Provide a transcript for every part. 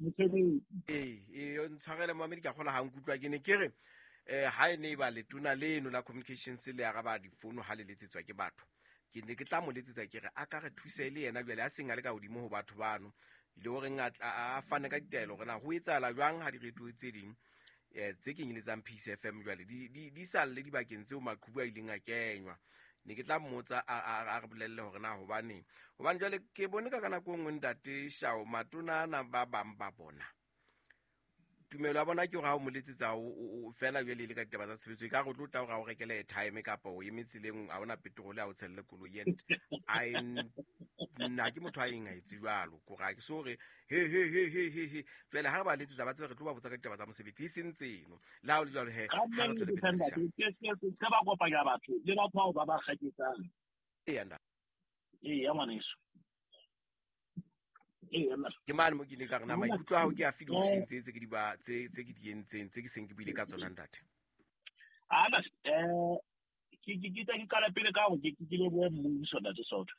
Mosebetsi. Ee, ee, ntshwarele moamedi, ka kgola ga nkutlwa. Ke ne ke re ha e ne e ba letona leno la communications le araba difono ha le letsetswa ke batho, ke ne ke tla mo letsetsa ke re a ka re thuse le yena jwale a seng a le ka hodimo ho batho bano, le horeng a fane ka ditaelo hore na ho etsahala jwang ha direto tse ding tse kenyeletsang Peace FM jwale di salle dibakeng tseo maqhubu a ileng a kenywa. Ne ke tla mmotsa a re bolelle hore na hobaneng, hobane jwale ke bone ka nako e nngwe ntate Shao matona ana ba bang ba bona tumelo ya bona ke hore ha o mo letsetsa o fela jwale e le ka ditaba tsa tshebetso, e ka re o tlo tla hore a o rekele airtime kapa o eme tseleng ha ona petrol a o tshelle koloi. And I nna ke motho a eng a etse jwalo, kore ha ke so re he he he he he he. Jwale ha re ba letsetsa ba tsebe re tlo ba botsa ka ditaba tsa mosebetsi, e seng tseno. Le ha o le jwalo he, ha re tswele pele re Se ba kopanya batho le batho bao ba ba kgaketsang. Eya, nda. Eya, ngwaneso. Ke mane mo ke ne ka re na maikutlo a hao ke afe diofising tse ke di ba tse ke di entseng, tse ke seng ke buile ka tsona, ntate? Ana ke tla ke qala pele ka hore ke lebohe mmuso, ntate Soto.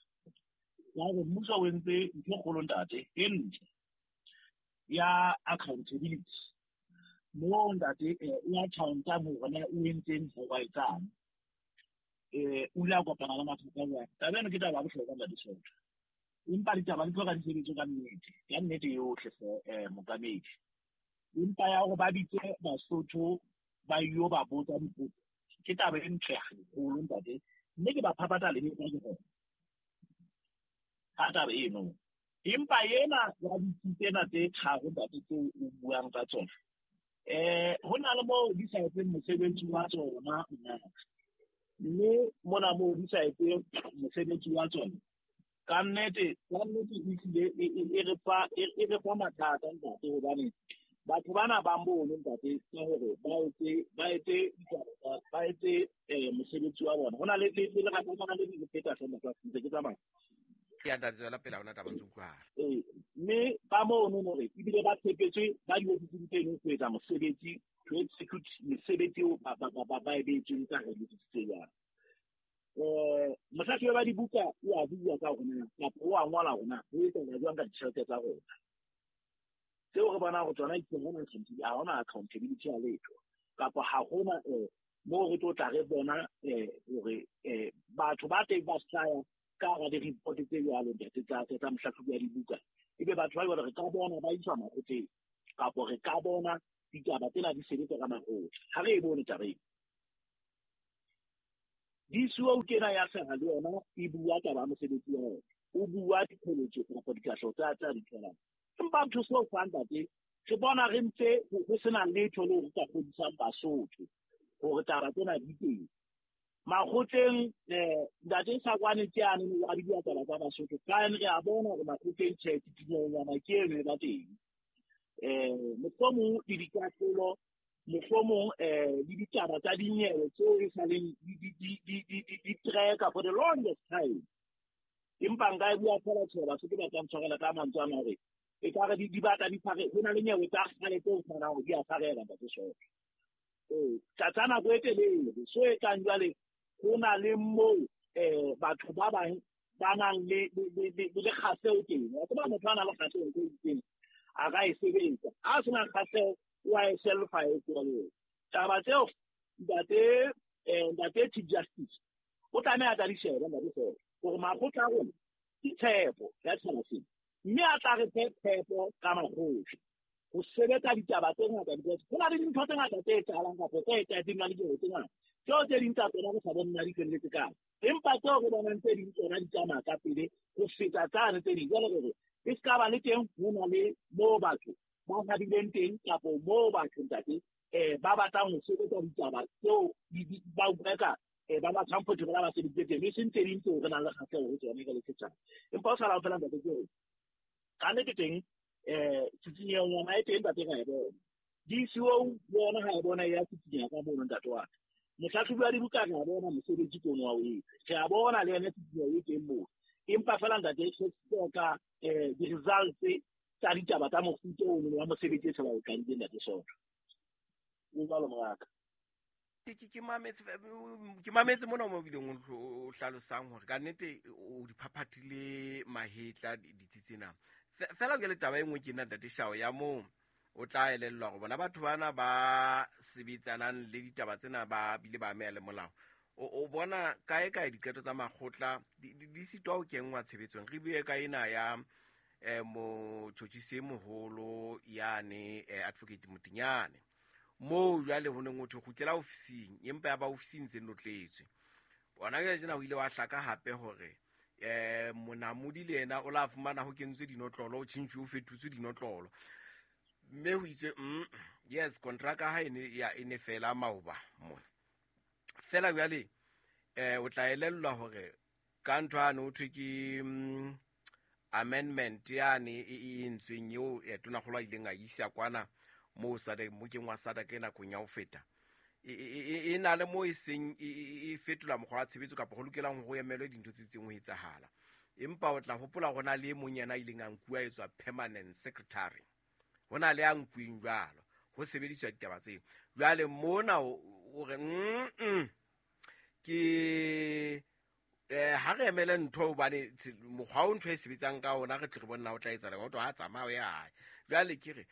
Ka hore mmuso o entse ntho e kgolo, ntate, e ntle ya accountability. Moo ntate o accountang hore na o entseng, ho ba etsang. O ile a kopana le mathata jwang. Taba eno ke taba ya bohlokwa, ntate Soto. Empa ditaba di tloga di sebetse ka nnete, ka nnete yohle hle mookamedi. Empa ya hore ba bitse Basotho ba yo ba botsa dipotso ke taba e ntle haholo, ntate, mme ke ba phaphatha lehetla ke gona ka taba eno. Empa ena ya ditsi tsena tse tharo, ntate, tseo o buang ka tsona, ho na le moo di sa etseng mosebetsi wa tsona, mme mona moo di sa etseng mosebetsi wa tsona ka nnete, ka nnete ehlile e re fa mathata, ntate, hobane batho bana ba mono, ntate, ka hore ba etse ditaba, ba etse mosebetsi wa bona, ho na le lerata le le feta hle, motho ntse ke tsamaya. Ya ntate, tswela pele, ha hona taba, ntse utlwahala. Ee, mme ba mono hore ebile ba tshepetswe ba diofising tseno ho etsa mosebetsi, to execute mesebetsi eo ba e beetsweng ka hare diofisi tse jwalo. Mohlahlobi wa dibuka o a bua ka hore na kapa o a ngola hore na ho etsahala jwang ka ditjhelete tsa rona tseo re bonang hore tsona ha hona accountability ya letho, kapa ha hona moo re tlo tla re bona hore batho ba teng ba hlaya ka hara di-report tse jwalo, ntate, tsa mohlahlobi wa dibuka, ebe batho ba jwalo re ka bona ba iswa makgotleng, kapo re ka bona ditaba tsena di sebetsa ka makgotla. Ha re e bone taba eno. DCO kena ya hlaha le yona e bua taba ya mosebetsi wa yona, o bua diqholotso kapa dikahleho tsa di tholang, empa ntho seo fa, ntate, re bona re ntse ho sena letho leo re ka kgodisang Basotho hore taba tsena di teng makgotleng. Ntate Sakwane ke ane wa di bua taba tsa Basotho fine, re a bona hore makgotleng tjhe, titinyonyana ke eno e ba teng, mohlomong le dikahlolo, mohlomong le ditaba tsa dinyewe tseo e saleng di tracka for the longest time. Empa nka e bua fela, tjhe, Basotho ba tla ntshwarela ka mantswe ana, hore e ka re di batla di tshware, ho na le nyewe tsa kgale tse o fumanang hore di a tshwarela, ntate Soto, ee, tsa nako e telele. So e tlang jwale ho na le moo batho ba bang ba nang le kgahleho teng. Wa tseba, motho a nang le kgahleho ntho e itseng a ka e sebetsa, ha a sena kgahleho o a e selfa e tswelle. Taba tseo, ntate Chief Justice o tlameha a tla di shebe, ntate Soto, hore makgotla a rona ke tshepo ya setjhaba sena, mme a tla re fe tshepo ka makgotla ho sebetsa ditaba tse ngata, because ho na le dintho tse ngata tse etsahalang kapa tse etsahetseng na le dilo tse ngata tseo tse ding tsa tsona re sa bone na di felletse kae, empa tseo re bonang tse ding tsona di tsamaya ka pele ho feta tsane tse ding. Jwale re e se ka ba le teng ho na le moo batho ba habileng teng, kapo moo batho, ntate, ba batlang ho sebetsa ditaba tseo ba utlwa ka ba ba comfortable ba sebeditse teng, e seng tse ding tseo re nang le kgahleho ho tsone re le setjhaba. Empa o sala fela, ntate, ke hore ka nnete teng tsitsinyeho yona e teng, ntate, ra e bona. DCO yona ha e bona ya tsitsinyeha ka mono, ntate wa ka. Mohlahlobi wa dibuka re a bona mosebetsi ke ono wa o etsa, re a bona le yona tsitsinyeho e teng moo. Empa fela, ntate, re hloka di-results tsa ditaba tsa mofuta ono wa mosebetsi e se ba o qadile, ntate Soto. O jwalo, moraka. Ke mametse mona mo bileng o hlalosang hore ka nnete o di phaphathile mahetla ditsi tsena. Fela ke le taba e nngwe ke nna Ntate Shao ya moo o tla elellwa gore bona batho bana ba sebetsanang le ditaba tsena ba bile ba ameha le molao. O bona kae kae diqeto tsa makgotla di sitwa ho kenngwa tshebetsong. Re bue ka ena ya motjhotjhisi e moholo yane Advocate Motinyane, moo jwale ho neng ho thwe kgutlela ofising, empa ya ba ofising tse notletswe. Ona jwale tjena ho ile wa hlaka hape hore Monamodi le yena o la fumana ho kentswe dinotlolo, o tjhentjhuwe, o fetotswe dinotlolo, mme ho itswe yes, kontraka ha e ne fela maoba mona. Fela jwale o tla elellwa hore ka ntho yane ho thwe ke amendment yane e entsweng eo tonakgolo a ileng a isa kwana moo SADC, mokeng wa SADC e nakong ya ho feta, e na le moo e seng e fetola mokgwa wa tshebetso kapa ho lokelang ho emelwe dintho tse itseng ho etsahala. Empa o tla hopola ho na le e mong yena a ileng a nkuwa etswa permanent secretary, ho na le a nkuweng jwalo ho sebediswa ditaba tseo. Jwale mona o re ke ha re emele ntho hobane mokgwa o ntho e sebetsang ka ona re tle re bone na o tla etsahala, o tlo ha tsamaya o ya hae. Jwale ke re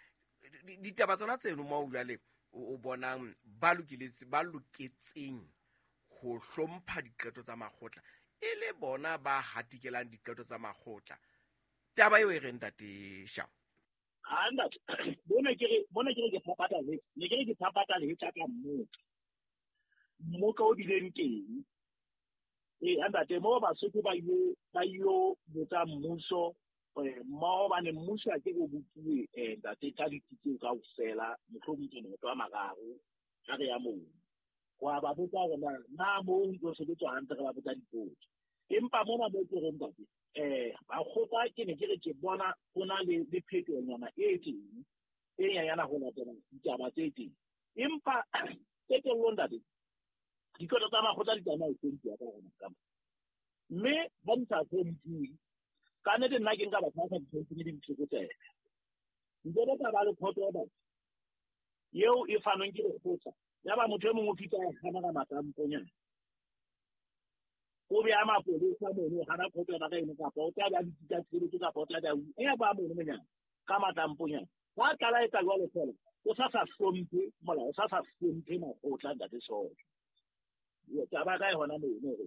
ditaba tsona tseno moo jwale o bonang ba loketseng ho hlompha diqeto tsa makgotla e le bona ba hatikelang diqeto tsa makgotla. Taba eo e reng Ntate Shao? Ha ntate, bona ke re ke phapata le, ne ke re ke phapata le tsa ka mmoka. Mmoka o bileng teng. Ntate, mo Basotho ba ile botsa mmuso, mmoho bane mmuso a ke go botsuwe ntate ka ditsi kaofela, mohlomong ke maoto a mararo ha re ya moo. Wa ba botsa hore na moo ho ntso sebetswa hantle, re ba botsa dipotso. Empa mona mo ke reng ntate, bakgotla ke ne ke re ke bona ho na le phetohonyana e teng, e nyanyana ho latela ditaba tse teng. Empa qetellong ntate, diqeto tsa makgotla di tsamaya ho hlomphiwa ka hona ka mona. Mme ha di sa hlomphiwe, ka nnete nna ke nka batho ba sa di hlompheng le ditlokotsebe. Nkebe ka ba le court order eo e fanweng ke lekgotla, ya ba motho e mongwe o fihla a hana ka matamponyana. O beha mapolesa mono, o hana court order ka eno, kapa o tla beha ditsi tsa tshireletso, kapa o tla beha e ba mono monyana ka matamponyana. Ba tlala etsa jwalo fela, o sa hlomphe molao, o sa hlomphe makgotla ntate Sojo. Taba ka e hona mono hore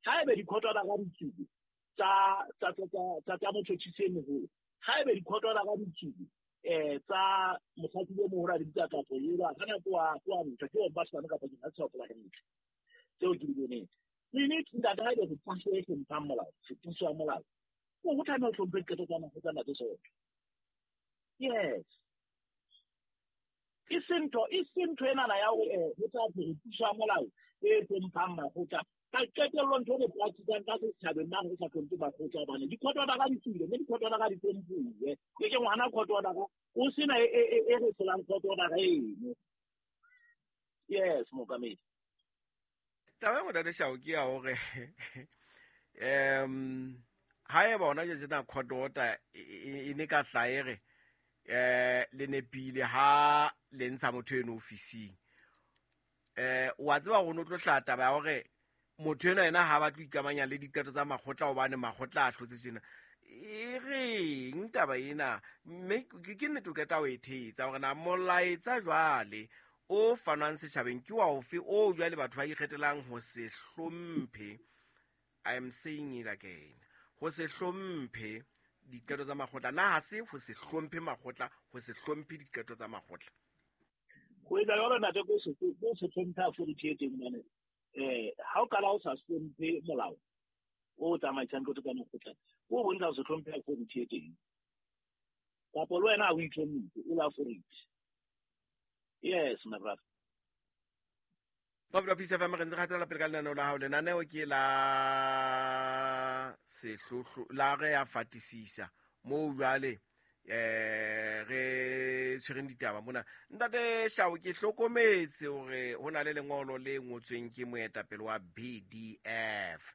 haebe di-court order ka ditsubi tsa motjhotjhisi e moholo, haebe di-court order ka ditsubi tsa mohlahlobi o moholo a di bitsa kapo eo, ha na ke wa ntho, ke wa Basotho kapa ke ha tshopola hantle tseo ke di boneng. Mme ntate, haebe re puso e hlomphang molao, re puso ya molao, o tlameha ho hlomphe diqeto tsa makgotla ntate Sojo. Yes. E seng ntho enana ya hore ho tla thwe re puso ya molao e hlomphang makgotla. Ka qetello ntho e re practicang ka setjhabeng mane re sa hlomphe makgotla, hobane di-court order ka di tswile, mme di-court order ka di hlomphuwe. Ke ke ngwana court order ka, o sena e re hlolang court order eno. Yes, mookamedi. Taba ya Ntate Shao ke ya hore haeba hona jwale tjena court order e ne ka hlaha e re le nepile ha le ntsha motho eno ofising, wa tseba hore o no tlo hlaha taba ya hore motho enwa yena ha batle ho ikamanya le diqeto tsa makgotla hobane makgotla a hlotse tjena. E reng taba ena? Mme ke nnete o qeta ho e thetsa hore na molaetsa jwale o fanwang setjhabeng ke wa ofe o jwale batho ba ikgethelang ho se hlomphe. I am saying it again, ho se hlomphe diqeto tsa makgotla. Na ha se ho se hlomphe makgotla, ho se hlomphe diqeto tsa makgotla? Ho etsa jwalo ntate, ko se hlomphe authority e teng mane. Ha o qala o sa hlomphe molao o tsamaisang qeto tsa makgotla, o bontsha ho se hlomphe authority e teng. Kapa le wena ha o itlhomphe, o le authority. Yes, my brother. Babula Peace FM, re ntse re hatela pele ka lenaneo la hao. Lenaneo ke la sehlohlo la re ya fatisisa moo jwale re tshwereng ditaba mona. Ntate Shao, ke hlokometse hore ho na le lengolo le ngotsweng ke moetapele wa BDF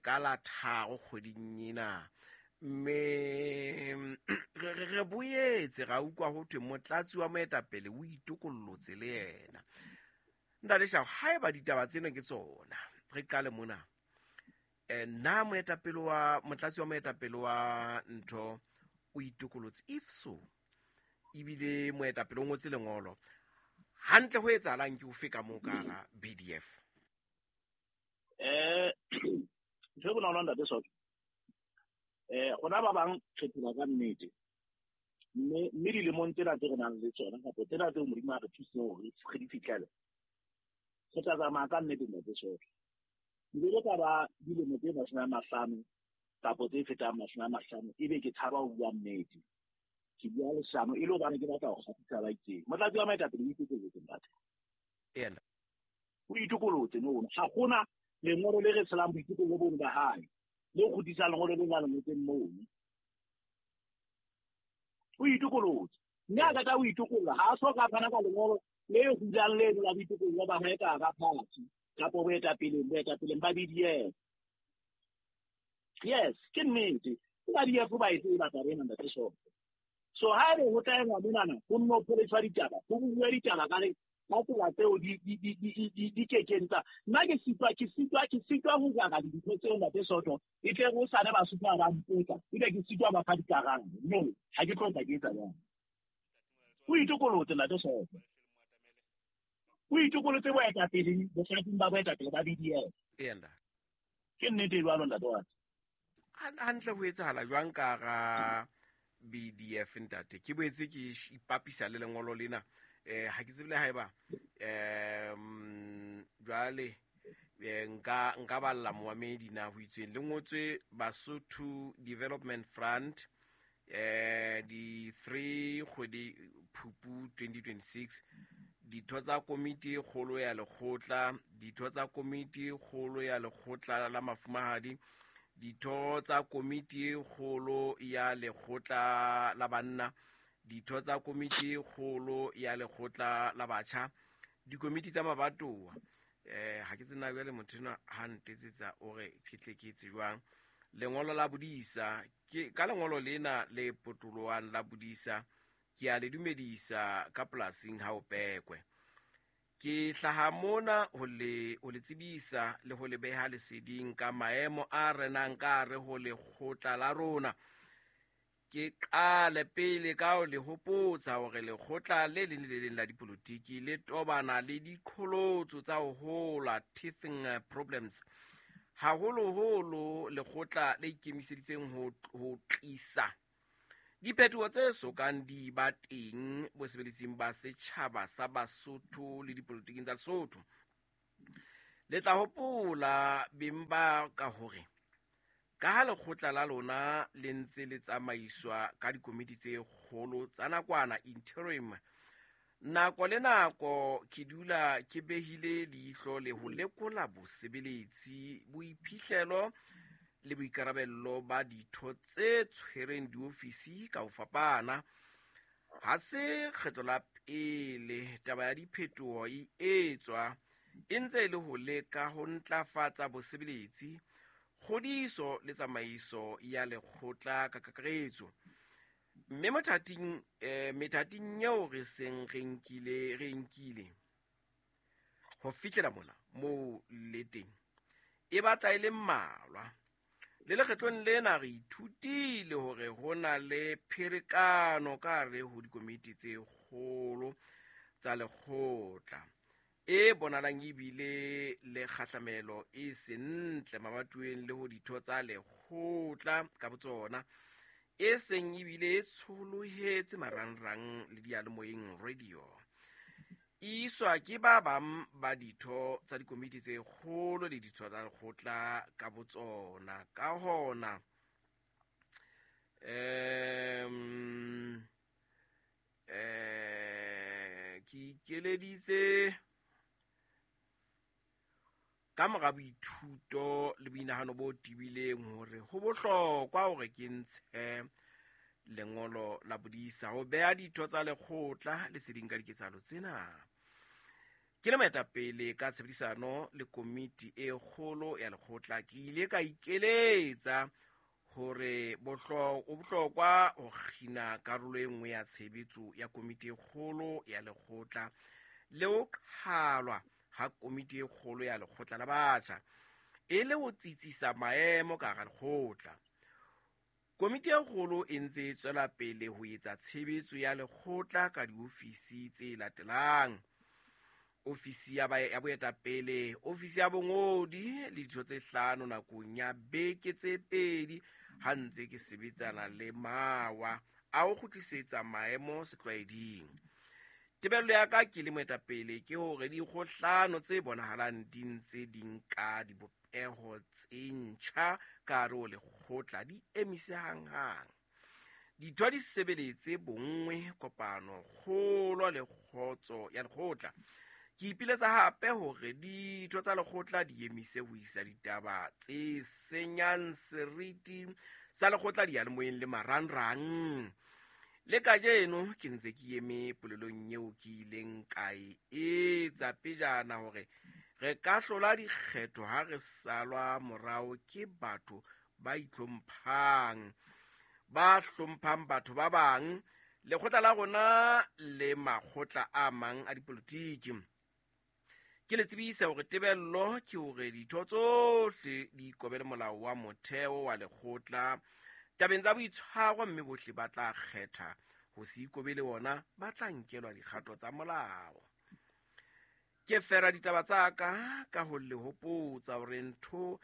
ka la 3 kgweding ena, mme re boetse ra utlwa ho thwe motlatsi wa moetapele o itokollotse le yena. Ntate Shao, haeba ditaba tsena ke tsona, re qale mona. Na moetapele wa motlatsi wa moetapele wa ntho o itokolotse? If so, ebile moetapele o ngotse lengolo, hantle ho etsahalang ke ofe ka moo ka hara BDF? Ntho e bonolo, ntate Soto, rona ba bang re phela ka nnete, mme dilemong tsena tse re nang le tsona, kapa tsena tseo Modimo a re thusitseng hore re di fihlele, re tla tsamaya ka nnete, ntate Soto. Nkeke ka ba dilemo tse 50 kapa tse fetang 50, ebe ke tshaba ho bua nnete, ke bua leshano e le hobane ke batla ho kgahlisa ba itseng. Motlatsi wa moetapele o itokolotse, ntate. O itokolotse mono. Ha hona lengolo le re tshelang boitokollo bono ba hae, le kgutlisang lengolo le la le ngotseng mono. O itokolotse. Mme a qeta ho itokolla, ha a so ka fana ka lengolo le hulang leno la boitokollo ba hae ka hara party, kapa boetapeleng ba BDF. Yes, ke nnete. Ke ba BDF ba e tseba taba ena, ntate Soto. So ha ebe ho tla engwa monana, ho nno pholetswa ditaba, ho bua ditaba ka re ka tsela tseo di kekeng tsa. Nna ke sitwa ho jara dintho tseo, ntate Soto, e tle ho sane Basotho ha ba mpotsa, ebe ke sitwa ba fa dikarabo. No, ha ke tlo tla ke etsa jwalo. O itokolotse, ntate Soto. O itokolotse boetapele, bohlatsing ba boetapele ba BDF. Ke nnete e jwalo, ntate wa ka. Hantle ho etsahala jwang ka hara BDF, ntate? Ke boetse ke ipapisa le lengolo lena. Ha ke tsebe le haeba jwale nka balla moamedi na ho itsweng le ngotswe Basotho Development Front, di 3 kgwedi Phupu 2026, ditho tsa komiti e kgolo ya lekgotla, ditho tsa komiti e kgolo ya lekgotla la mafumahadi, ditho tsa komiti e kgolo ya lekgotla la banna, ditho tsa komiti e kgolo ya lekgotla la batjha, dikomiti tsa mabatowa. Ha ke tsena jwale, motho enwa ha ntetsetsa o re ke tle ke etse jwang. Lengolo la bodisa ke ka lengolo lena le potoloang la bodisa, ke a le dumedisa ka polasing ha o pekwe. Ke hlaha mona ho le tsebisa le ho le beha leseding ka maemo a renang ka hare ho lekgotla la rona. Ke qale pele ka ho le hopotsa hore lekgotla le leng le le leng la dipolotiki le tobana le diqholotso tsa ho hola, teething problems, haholoholo lekgotla le ikemiseditseng ho tlisa diphetoho tse sokang di ba teng bosebeletsing ba setjhaba sa Basotho le dipolotiking tsa Lesotho. Le tla hopola, beng ba ka, hore ka ha lekgotla la lona le ntse le tsamaiswa ka dikomiti tse kgolo tsa nakwana, interim, nako le nako ke dula ke behile leihlo le ho lekola bosebeletsi, boiphihlelo le boikarabello ba ditho tse tshwereng diofisi ka ho fapana. Ha se kgetlo la pele taba ya diphetoho e etswa, e ntse e le ho leka ho ntlafatsa bosebeletsi, kgodiso le tsamaiso ya lekgotla ka kakaretso. Mme methating eo re seng re nkile ho fihlela mona moo le teng, e batla e le mmalwa. Le lekgetlong lena re ithutile hore ho na le pherekano ka hare ho dikomiti tse kgolo tsa lekgotla e bonahalang ebile le kgahlamelo e sentle mabatoweng le ho ditho tsa lekgotla ka botsona, e seng ebile e tsholohetse marangrang le diyalemoyeng radio, e iswa ke ba bang ba ditho tsa dikomiti tse kgolo le ditho tsa lekgotla ka botsona. Ka hona ke ikeleditse ka mora boithuto le boinahano bo tebileng hore ho bohlokwa hore ke ntshe lengolo la bodisa ho beha ditho tsa lekgotla leseding ka diketsahalo tsena. Ke le moetapele, ka tshebedisano le komiti e kgolo ya lekgotla, ke ile ka ikeletsa hore ho bohlokwa ho kgina karolo e nngwe ya tshebetso ya komiti e kgolo ya lekgotla le ho qhalwa ha komiti e kgolo ya lekgotla la batjha, e le ho tsitsisa maemo ka hara lekgotla. Komiti e kgolo e ntse e tswela pele ho etsa tshebetso ya lekgotla ka diofisi tse latelang: ofisi ya boetapele, ofisi ya bongodi le ditho tse 5 nakong ya beke tse 2 ha ntse ke sebetsana le mawa a ho kgutlisetsa maemo setlwaeding. Tebello ya ka ke le moetapele ke hore dikgohlano tse bonahalang di ntse di nka dibopeho tse ntjha ka hare ho lekgotla di emise hanghang. Ditho di sebeletse bonngwe, kopano, kgolo le kgotso ya lekgotla. Ke ipiletsa hape hore ditho tsa lekgotla di emise ho isa ditaba tse senyang seriti sa lekgotla diyalemoyeng le marangrang. Le kajeno ke ntse ke eme polelong eo ke ileng ka e etsa pejana hore re ka hlola dikgetho ha re salwa morao ke batho ba itlhomphang, ba hlomphang batho ba bang, lekgotla la rona le makgotla a mang a dipolotiki. Ke le tsebisa hore tebello ke hore ditho tsohle di ikobele molao wa motheo wa lekgotla tabeng tsa boitshwaro, mme bohle ba tla kgetha ho se ikobele ona ba tla nkelwa dikgato tsa molao. Ke fera ditaba tsa ka ka ho le hopotsa hore ntlo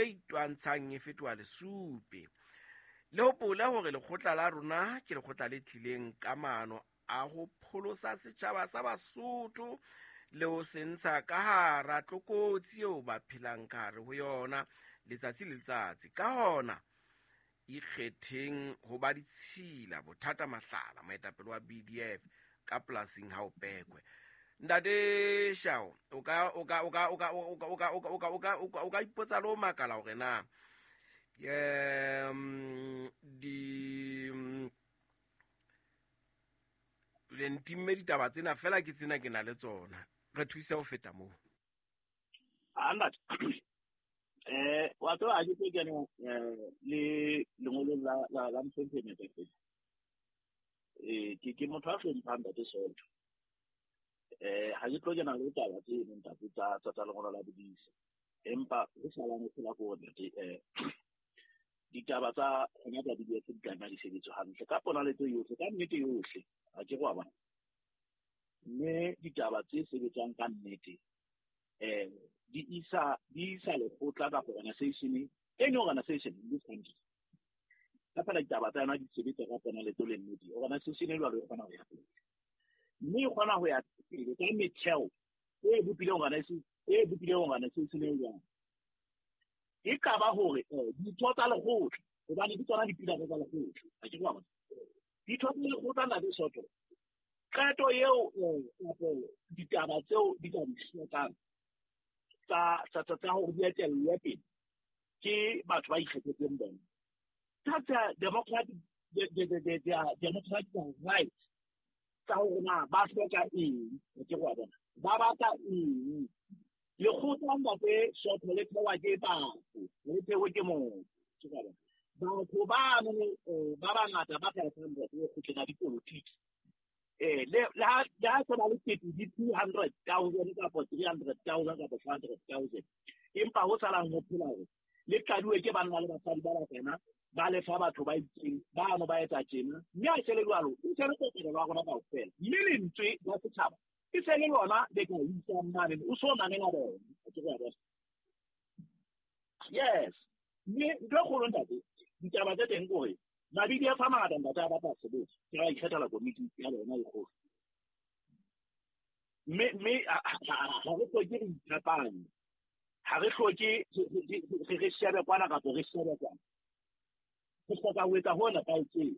e itwantshang e fetoha lesupi. Le hopole hore lekgotla la rona ke lekgotla le tlileng ka maano a ho pholosa setjhaba sa Basotho le ho se ntsha ka hara tlokotsi eo ba phelang ka hare ho yona letsatsi le letsatsi. Ka hona ikgetheng ho ba ditshila. Bothata Mahlala, moetapele wa BDF ka polasing ha o pekwe. Ntate Shao, o ka ipotsa le ho makala hore na di le ntimme ditaba tsena fela ke tsena ke na le tsona, re thuse ho feta moo. Wa tseba ha ke tlo kena le lengolong la mohlomphehi moetapele. Ke motho a hlomphang ntate Soto. Ha ke tlo kena le taba tseno ntate tsa lengolo la bodisa, empa ho salang ho phela ko ntate ditaba tsa hona tsa BDF di tlameha di sebetswe hantle ka ponaletso yohle, ka nnete yohle, ha ke re wa bona. Mme ditaba tse sebetsang ka nnete di isa lekgotla kapa organization, any organization in this country. Ka fela ditaba tsa yona di sebetsa ka ponaletso le nnete, organization e jwalo e kgona ho ya pele. Mme e kgona ho ya pele ka metheo e bopileng organization e jwang. E ka ba hore ditho tsa lekgotla, hobane ke tsona dipilare tsa lekgotla, ha ke re wa bona. Ditho tsa lekgotla na le Soto, qeto eo kapo ditaba tseo di ka di hlokang tsa hore di etellwe pele ke batho ba ikgethetseng bona. Tsa democratic democratic right tsa hore na ba hloka eng, ha ke re wa bona, ba batla eng. Lekgotla ntate Soto le thewa ke batho, le thewe ke motho. Batho ba ba bangata ba 500 lekgotleng la dipolotiki. Le ha se ba le kete di 200,000 kapa 300,000 kapa 500,000, empa ho salang ho phela hore le qadiwe ke banna le basadi ba bakana ba lefa batho ba itseng ba no ba etsa tjena, mme ha se le jwalo e se le kopano ya rona kaofela, mme lentswe la setjhaba e se le lona le ka isang mane, o so mamela bona. Yes, mme ntho e kgolo ntate, ditaba tse teng ke hore ma-BDF a mangata ntate a batla sebetsa, ke ba ikgethela komiti ya bona e kgolo. Mme ha re hloke re iphapanye, ha re hloke re shebe kwana kapa re shebe kwana. Re hloka ho etsa ho nepahetseng,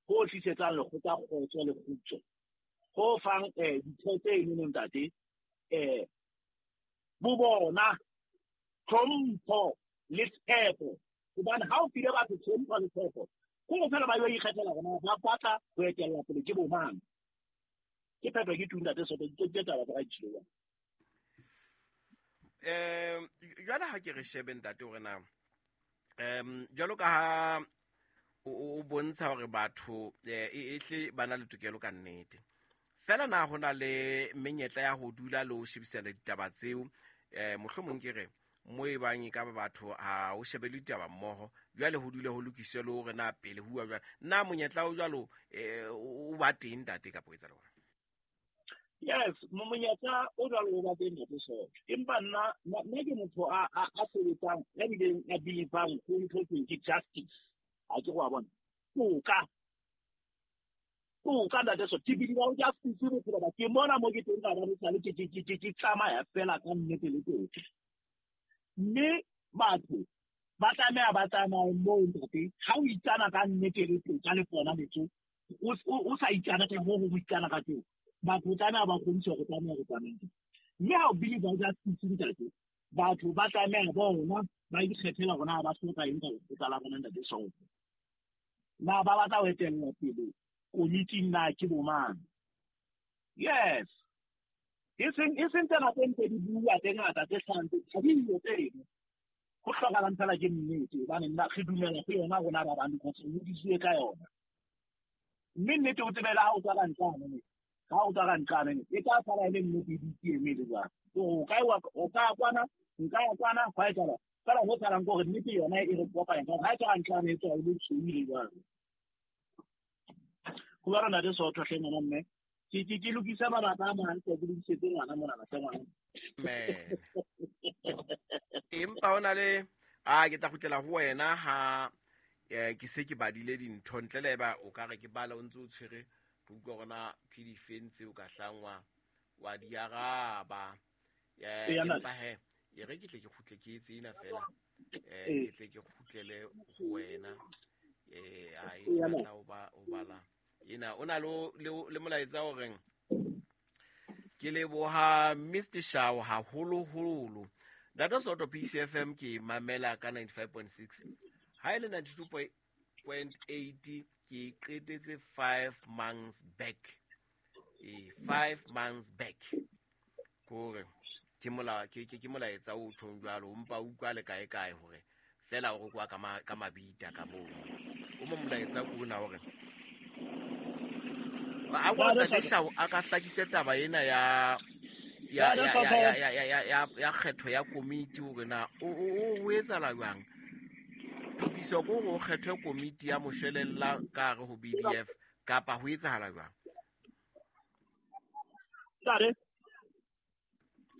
ho tlisetsang lekgotla kgotso le kgutso, ho fang ditho tse enono ntate bo bona tlhompho le tshepo. Hobane ha o file batho tlhompho le tshepo, ke hore fela ba yo ikgethela hore na ba batla ho etella pele ke bo mang. Ke phetho ke tu ntate Soto, ke taba tsa ka jwang. Jwale ha ke re shebe ntate hore na jwalo ka ha o bontsha hore batho ehle ba na le tokelo ka nnete, fela na ho na le menyetla ya ho dula le ho shebisana ditaba tseo? Mohlomong ke re Mo e bang e ka ba batho ha o shebe le ditaba mmoho, jwale ho dule ho lokiswe le hore na pele ho bua jwang. Na monyetla o jwalo o ba teng ntate kapa o etsahala jwang? Yes, monyetla o jwalo o ba teng ntate Soto. Empa nna ke motho a sebetsang, a bileng a believang ho ntho e ke justice. Ha ke go a bona. Toka. Toka ntate Soto. Ke believe ho justice bophelo ba ke mona mo ke teng ka ba sale ke tsamaya fela ka nnete le toka. Mme batho ba tlameha ba tsamaye moo ntate, ha o itsana ka nnete le toka le pona metso, o sa itsana ka ho ho itsana ka teng. Batho tlameha ba kgodiswe hore tlameha re tsamaye. Mme ha o believe ho justice ntate, batho ba tlameha bona ba ikgethela hore na ba hloka eng ka lekgotla la bona ntate Soto. Na ba batla ho etella pele komiting na ke bo mang? Yes. E seng tsena tse ntse di bua tse ngata tse hlahang tse ha di yo tseno. Ho hlokahalang fela ke nnete hobane nna re dumela ho yona rona ba bang because re hodisitswe ka yona. Mme nnete o tsebela ha o tswa ka ntlane. Ha o tswa ka ntlane e tla sala e le nnete e dutse e eme le jwang. O ka kwana, nka ya kwana, hwa etsahala. Fela ho salang ke hore nnete yona e re kopanya ka hore ha e tswa ka ntlane e tswa e le tshweu le jwang. Ho ba rona re Soto hle ngwana mme. Ke lokisa mabaka a mang, ke lokisetse ngwana mona hle ngwana. Men. Empa o na le a ke tla kgutlela ho wena ha ke se ke badile dintho ntle le eba o ka re ke bala o ntse o tshwere re utlwa hore na ke difeng tseo ka hlangwa wa di araba. Empa he e re ke tle ke kgutle ke etse ena fela. Ke tle ke kgutlele ho wena. A e tla o bala. Ena o na le molaetsa o reng ke leboha Mr Shao haholoholo. Ntate Soto PCFM ke mamela ka 95.6. Ha e le 92.8 ke qetetse 5 months back. 5 months back. Kore ke molaetsa o tjhong jwalo, mpa utlwa le kae kae hore fela o re kwa ka mabita ka moo. O mo molaetsa ko ona hore a go ntate Shao a ka hlakise taba ena ya kgetho ya komiti hore na o etsahala jwang. Tokiso ko go kgethwe komiti ya moshwelella ka hare ho BDF kapa ho etsahala jwang? Ntate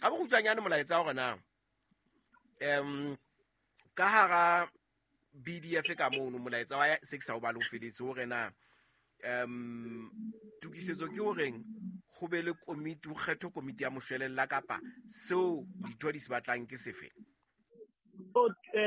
a bo kgutshwanyane molaetsa hore na ka hara BDF ka mono molaetsa wa se ke sa o bale o feletse hore na tokisetso ke horeng ho be le komiti, ho kgethwe komiti ya moshwelella kapa seo ditho di se batlang ke sefe?